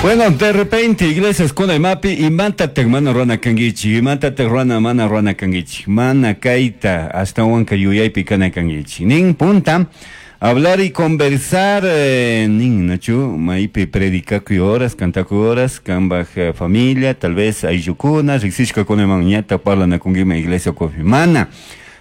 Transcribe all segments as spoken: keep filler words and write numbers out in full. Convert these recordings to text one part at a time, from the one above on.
Bueno, de repente, iglesias kuna imapi imantataj mana rurana kanguichik, imantataj rurana mana rurana kanguichik, mana kayta ashtawanka yuyaypi kana kanguichik. Nin punta, hablar y conversar, eh, nin, nachu, maypi predicakuy horas, cantakuy horas, kambaj eh, familia, tal vez ayllukuna, riksishkakunaman ñata parlanakunkima iglesia ukupi. Mana.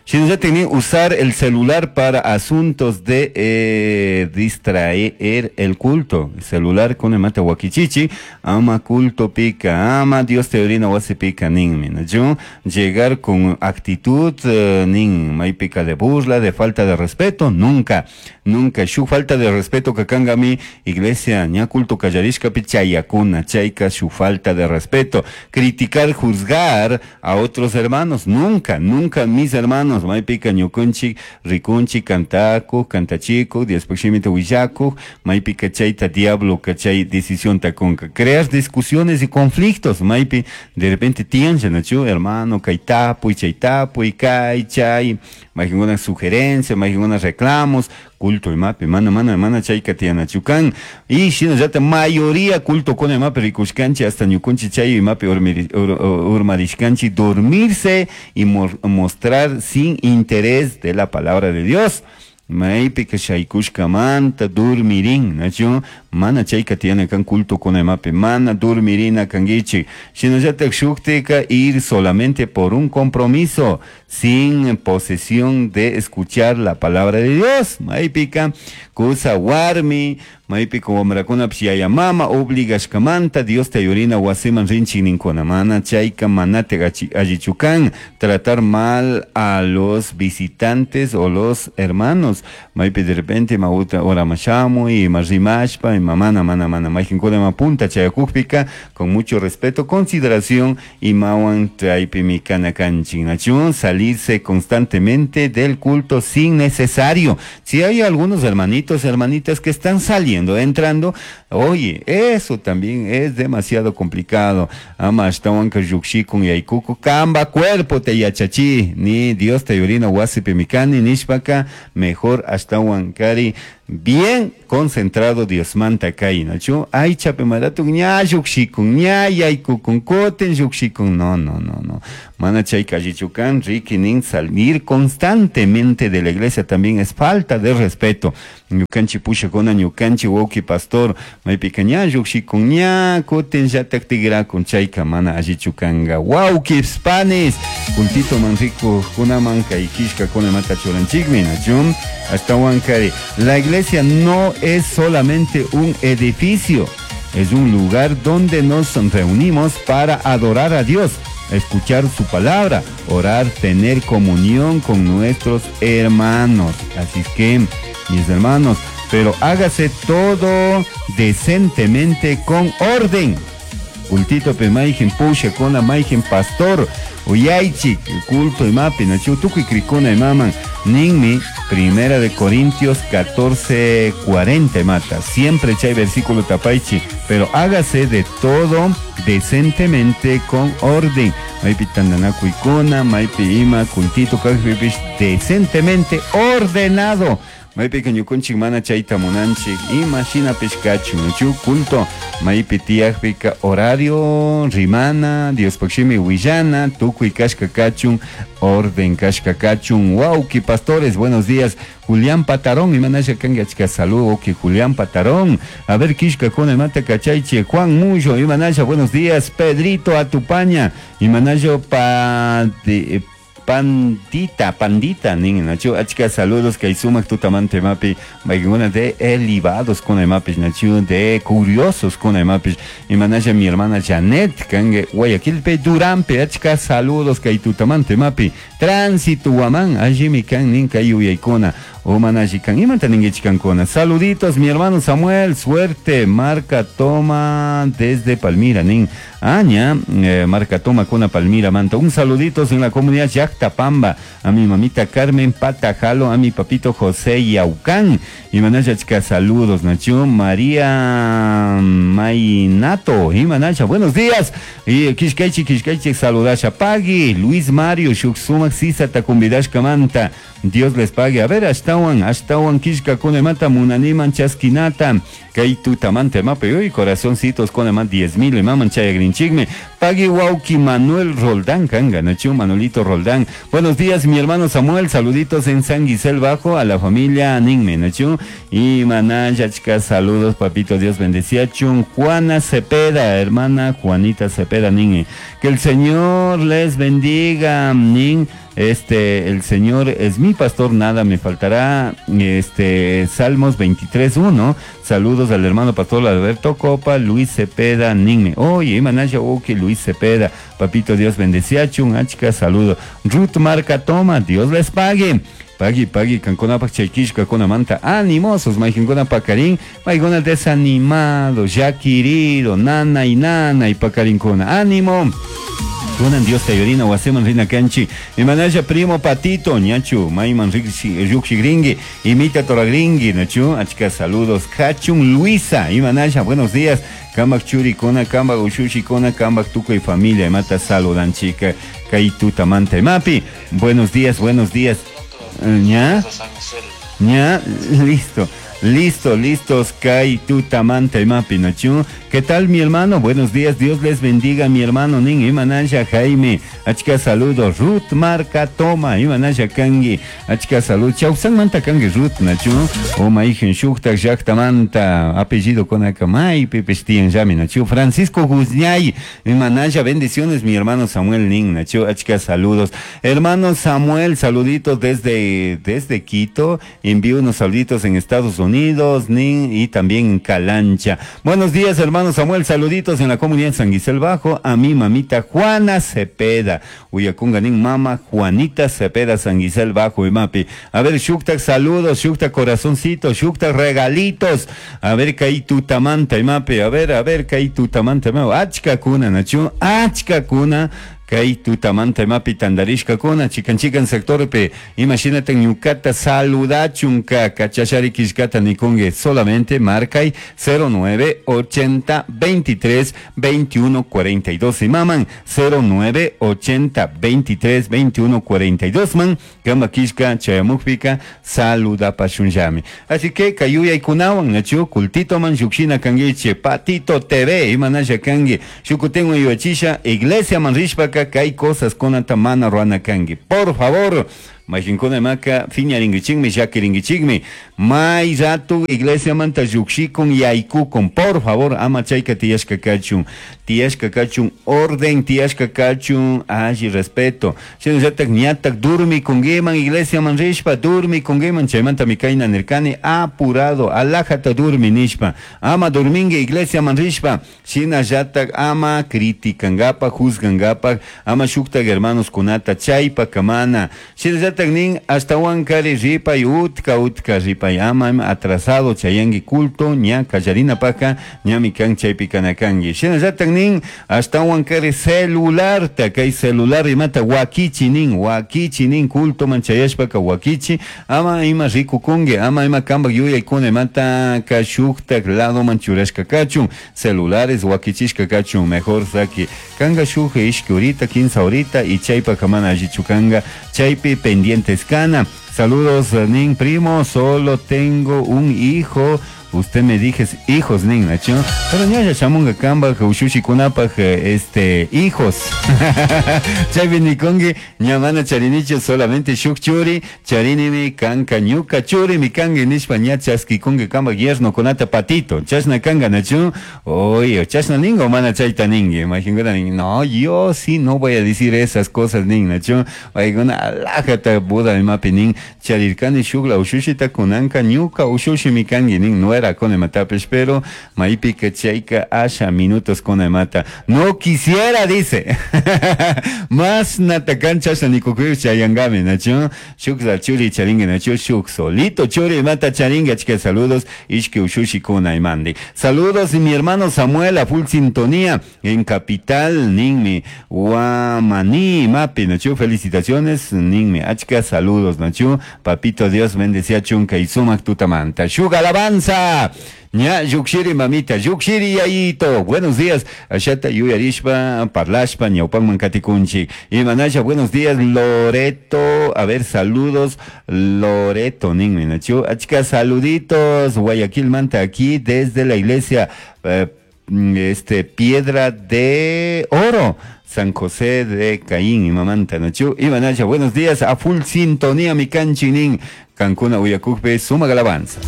Shinallatik nin usar el celular para asuntos de eh, distraer el culto. Celular con mata wakichichi, ama culto pica, ama Dios te orina wasi pica ninmi. Nachu, llegar con actitud eh, nin maypika de burla, de falta de respeto, nunca, nunca. Shu falta de respeto kakangami iglesia ña culto kallarishkapi chayakuna, chayka shu falta de respeto. Criticar, juzgar a otros hermanos, nunca, nunca mis hermanos. Maypika ñukunchik rikunchik kantakuj kantachikuj Diospaj shimita willakuj maypika chayta diablo chay decisión kunka crear discusiones y conflictos maypi de repente tiyan nachu hermano kay tapuy chay tapuy kay chay mayqinkuna sugerencia mayqinkuna reclamos culto imapi mana mana mana chayka tiyanachu kan y shinallata mayoría culto kuna imapi rikushkanchik hasta ñukunchik chay imapi urmarishkanchik dormirse y mostrar sin interés de la palabra de Dios. Maypika shaykushkamanta dormirin, nachu mana chayka tiyana kan culto kuna imapi mana dormirina kanguichik shinallatak shuktika ir solamente por un compromiso sin posesión de escuchar la palabra de Dios. Maypika kusa warmi maypika wamrakunapish yaya mama obligashkamanta Dios te yurina wasiman rinchik ninkuna mana chayka manatik allichu kan tratar mal a los visitantes o los hermanos. Maypi de repente ma ora mashamuy ima rimashpa ima mana mana mana mayqinkuna ima punta chayakukpika con mucho respeto, consideración imawan chaypimi kana kanchik nachu salirse constantemente del culto sin necesario. Si hay algunos hermanitos, hermanitas que están saliendo, entrando, oye, eso también es demasiado complicado. Ama ashtawanka llukshikun yaykuku kamba cuerpo te yachachi ni Dios te yurina wasipi mikani nishpaka mejor ashtawankari bien concentrado Diosmanta kay nachu aychapi maratun ña llukshikun ña yaykukun kutin llukshikun no no no no mana chayka allichu kan riki nin salir constantemente de la iglesia también es falta de respeto. Ñukanchik pushakuna ñukanchik wawqi pastor maypika ña llukshikun ña kutin llatak tikrakun chayka mana allichu kanka wawqi panis cultito man rikuqkunaman kay killkakunamanta churanchikmi nachu ashtawankari la iglesia no es solamente un edificio, es un lugar donde nos reunimos para adorar a Dios, escuchar su palabra, orar, tener comunión con nuestros hermanos. Así es que, mis hermanos, pero hágase todo decentemente con orden. Cultito pe mayqin pushakuna mayqin pastor uyaychik culto imapi nachu tukuy krikuna imaman ninmi Primera de Corintios catorce cuarenta mata siempre chay versículo tapaychi pero hágase de todo decentemente con orden maypi tantanakuykuna maypi ima cultito kaqpipish decentemente ordenado maypika ñukunchik mana chayta munanchik ima shinapish kachun nachu culto maypi tiyakpika horario rimana Diospaj shimi willana tukuy kashka kachun orden kashka kachun wawqi pastores buenos días Julián Patarón imanasha kanki achka saludo wawqi Julián Patarón a ver killkakuna imata kachaychik Juan Mullo imanasha buenos días Pedrito Atupaña imanasha pa de, Pandita, pandita, nin, nachu, achka saludos kay sumak tutamante mapi, maykuna de elevados kuna imapish, nachu, de curiosos kuna imapish, imanasha mi hermana Janet, kange, Guayaquilpe, Durampe, achka saludos kay tutamante mapi, tránsito guamán, allí kan nin kay uyaykuna, umanashi kan, imanta ninguichikankuna, saluditos mi hermano Samuel, suerte, marca toma desde Palmira, nin, aña, eh, marca toma kuna Palmira, manta, un saluditos en la comunidad Yactapamba, a mi mamita Carmen Patajalo, a mi papito José Yaucán, y manachka saludos, Nacho, María Mainato, y manacha, buenos días, y kishkaichi, kishkaichi, saludasha, Pagui, Luis Mario, Shuksuma, Sisa, Tacumbidashka Manta, Dios les pague. A ver, ashtawan, ashtawan killkakuna imata munaniman chaskinata. Kay tutamanta imapi, uy, corazoncitos con más diez mil imaman chayagrinchikmi. Pagui wauki Manuel Roldán, kanga, nachu Manuelito Roldán. Buenos días, mi hermano Samuel, saluditos en San Guisel Bajo a la familia Ninme, nachu. Y manayachka, saludos, papito, Dios bendecía. Chun Juana Cepeda, hermana Juanita Cepeda, Ninme. Que el Señor les bendiga, Nin. Este, el Señor es mi pastor, nada me faltará. Este, Salmos veintitrés uno. Saludos al hermano pastor Alberto Copa, Luis Cepeda, Ninme. Oye, Manaya, ok, Luis Cepeda, papito Dios bendecía, chun, achka, saludo. Ruth Marca Toma, Dios les pague. Pagui, pagui, kankuna pak chaykishka kuna manta animosos, maykinkuna pakarin, maykuna desanimado, ya querido, nana y nana y pakarinkuna, ánimo. Kunan Dios te ayudina, waseman rina kanchi. Imanaya primo patito, ñachu, mayman rukshi gringui, imita toragringui, nachu, achka saludos. Kachun Luisa, imanaya, buenos días. Kambak churi kona, kambak ushushi kona, kambak tuco y familia, imata saludan chica, kaituta manta imapi. Buenos días, buenos días. ¿Ya? ¿Ya? Listo. Listo, listos, Kai tutamanta imapi nachu. ¿Qué tal, mi hermano? Buenos días, Dios les bendiga, mi hermano Nin Imanaya Jaime. Achka saludos, Ruth Marca Toma, Imanaya Kangi. Achka salud, Chausan Manta Kangi Ruth nachu. O Maijen Shukta Yaktamanta, apellido con Akamay, Pepestian Yami nachu. Francisco Guzñay, Imanaya, bendiciones, mi hermano Samuel Nin nachu. Achka saludos. Hermano Samuel, saluditos desde, desde Quito. Envío unos saluditos en Estados Unidos. Unidos, Nin, y también Calancha. Buenos días, hermano Samuel, saluditos en la comunidad San Guisel Bajo, a mi mamita Juana Cepeda, Uyacunga nin mama Juanita Cepeda, San Guisel Bajo y Mapi. A ver, Shukta, saludos, Shukta, corazoncito, Shukta, regalitos. A ver, Kaitutamanta y Mapi, a ver, a ver, Kaitutamanta, Achka kuna, nachu, Achka kuna. Kay tutamanta imapi tandarishka kuna chikan chikan sectorpe imagínate ñukata saludachunka kachashari kishkata nikungue solamente marcay cero nueve ochenta veintitrés veintiuno cuarenta y dos y maman cero nueve ochenta veintitrés veintiuno cuarenta y dos man kamba kishka chayamukpika saludapashunyami. Así que kayuya ikunawan nachu kultito man yukshina kanguiche patito T V imanasha kangi shukutengo yuachisha iglesia man rishpaka que hay cosas con atamana ruana kangi. Por favor, majinkuna maka fiñaringuichikmi shakiringuichikmi may ratu iglesia manta llukshikun yaykukun. Por favor, ama chayka tiyashka kachun, tiyashka kachun orden, tiyashka kachun alli respeto. Shinallatak ñatak durmikunkiman iglesia man rishpa durmikunkiman chaymanta mikayna nirkani apurado alajata durmi nishpa ama durmingi iglesia man rishpa. Shinallatak ama critikangapak juzgangapak ama shuktak hermanos kunata chaypa kamana. Shinallatak nin hasta wankari ripay utka utka ripay ama atrasado chayangi culto ña kallarina paka ñami kan chaypi kanakangi. Shinallatak nin hasta wankari celularta kay celular imata wakichi nin wakichi nin culto man chayashpaka wakichi ama ima rikukungi ama ima kambak yuyaykuna imata kashuktak lado man churashka kachun celulares wakichishka kachun mejor saki kanga shuk ishki horita quince horita y chaypa kamana allichukanga chaypi pendientes kana. Saludos, nin primo, solo tengo un hijo. Usted me dije hijos, nin, nacho. Pero ñaya chamunga kamba, ushushi kunapa, este, hijos. Chaypi nikongi, ñamana charinicho, solamente shuk churi, charinimi kanka ñuka churi, mi kangi nishpa ña chaski kungi kamba yerno kunata patito. Chashna kanga, nacho. Oye, chashna ningo, mana chayta ningi. Imagínate, no, yo sí no voy a decir esas cosas, nin, nacho. Oiguna, alajata, buda, imapi, nin, charirkani shukla, ushushita kunanka, ñuka, ushushi mi kangi, nin, no era con el pero maipika chayka asha minutos con el mata. No quisiera, dice. Más natacancha sanikukuy chayangame, nacho. Shukla churi charingue, nacho. Shuk solito churi mata charingue, chica, saludos. Ishke ushushi kuna imandi. Saludos y mi hermano Samuel a full sintonía en Capital, ninmi. Guamaní, mapi, nacho. Felicitaciones, ninmi. Achka, saludos, nacho. Papito Dios bendecía chunka y sumak tutamanta. Shuk alabanza. Mamita. Ña llukshiri mamita, llukshiri yayito. Buenos días. Ashata yuyarishpa, parlashpa, ñawpakman katikunchik. Imanasha, buenos días, Loreto. A ver, saludos, Loreto, ninmi, nachu. Achka saluditos, Guayaquil manta aquí desde la iglesia, eh, este, Piedra de Oro. San José de Caín y mamanta nachu. Imanasha, buenos días, a full sintonía mi kanchik nin. Kankuna uyakukpi, sumak alabanza.